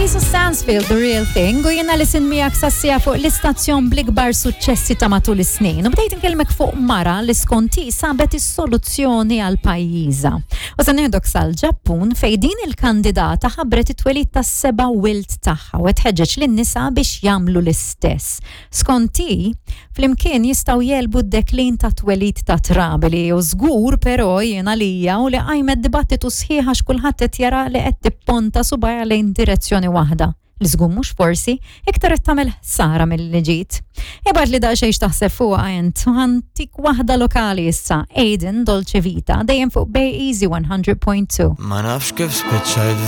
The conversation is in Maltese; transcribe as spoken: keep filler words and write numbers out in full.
Lisa Stansfield, The Real Thing, u jiena li sin miegħek sassija fuq l-istazzjon bl-ikbar suċċessi ta' matul is-snin. U bdejt inkellmek fuq mara li skonti sabet is-soluzzjoni għal pajjiżha. U se nieħdok sal-Ġappun fejn din il-kandidata ħabbret it-twelid tas-seba' wild tagħha u tħeġġeġ lin-nisa biex jagħmlu l-istess. Skonti, flimkien jistgħu jegħlbu d-deklin ta' twelid ta' trabi li u żgur però jiena lija u li qajmet dibattitu sħiħ għax kulħadd qed jara li qed tipponta subgħajha lejn direzzjoni waħda li żgur mhux forsi iktar qed tagħmel ħsara milli ġid. Ibgħatli daqsxejn x'taħseb fuqha int u ħa ntik waħda lokali issa, Aiden Dolce Vita, dejjem fuq Bay Easy one hundred point two. Ma nafx kif spiċċajt.